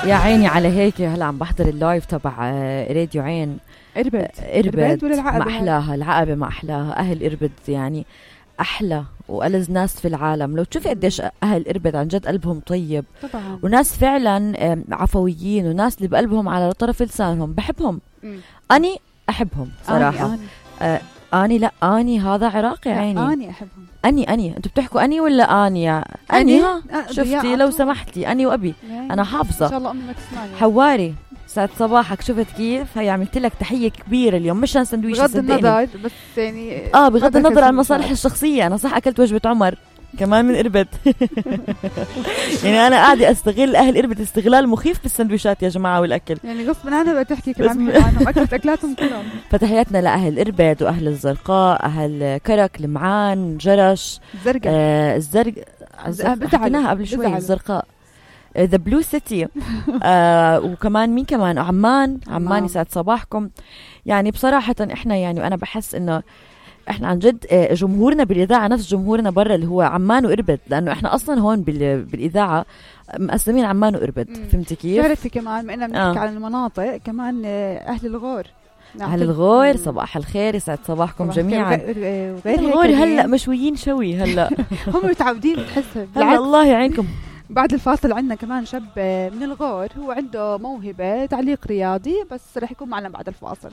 يا عيني على هيك. هلا عم بحضر اللايف تبع راديو عين. إربد ولا العقبة؟ ما أحلاها العقبة، ما أحلاها. أهل إربد يعني أحلى وألذ ناس في العالم. لو تشوفي قديش أهل إربد عن جد قلبهم طيب طبعا، وناس فعلا عفويين، وناس اللي بقلبهم على طرف لسانهم. بحبهم. أني أحبهم صراحة. أني لا، أني هذا عراقي عيني. أني أحبهم. أني أنتوا بتحكوا أني ولا أني؟ أني ها شفتي لو سمحتي أني وأبي أنا حافظة. إن شاء الله أمي ما تسمعني. حواري ساعة صباحك. شفت كيف هي عملت لك تحية كبيرة اليوم، مش عن سندويش بغض النظر بس يعني بغض النظر عن المصالح الشخصية. أنا صح أكلت وجبة عمر كمان من إربد. يعني أنا قاعدة أستغل أهل إربد استغلال مخيف بالسندويشات يا جماعة والأكل. يعني غصب عنها بتحكي كمان عنهم. أكلت أكلاتهم كلهم. فتحياتنا لأهل إربد وأهل الزرقاء، أهل كرك، لمعان، جرش، الزرق حكيناها قبل شوي. الزرقاء، The Blue City. وكمان مين كمان؟ عمان يسعد صباحكم. يعني بصراحة احنا يعني وأنا بحس انه احنا عن جد جمهورنا بالإذاعة نفس جمهورنا برا اللي هو عمان وإربد، لأنه احنا أصلا هون بالإذاعة مقسمين عمان وإربد. فهمتي كيف؟ تعرفي كمان ما إنا بنحكي عن المناطق، كمان أهل الغور. أهل الغور صباح الخير، يسعد صباحكم جميعا. غير الغور هلأ مشويين شوي هلأ. هم متعودين تحسها. الله يعينكم. بعد الفاصل عندنا كمان شاب من الغور، هو عنده موهبة تعليق رياضي، بس رح يكون معنا بعد الفاصل.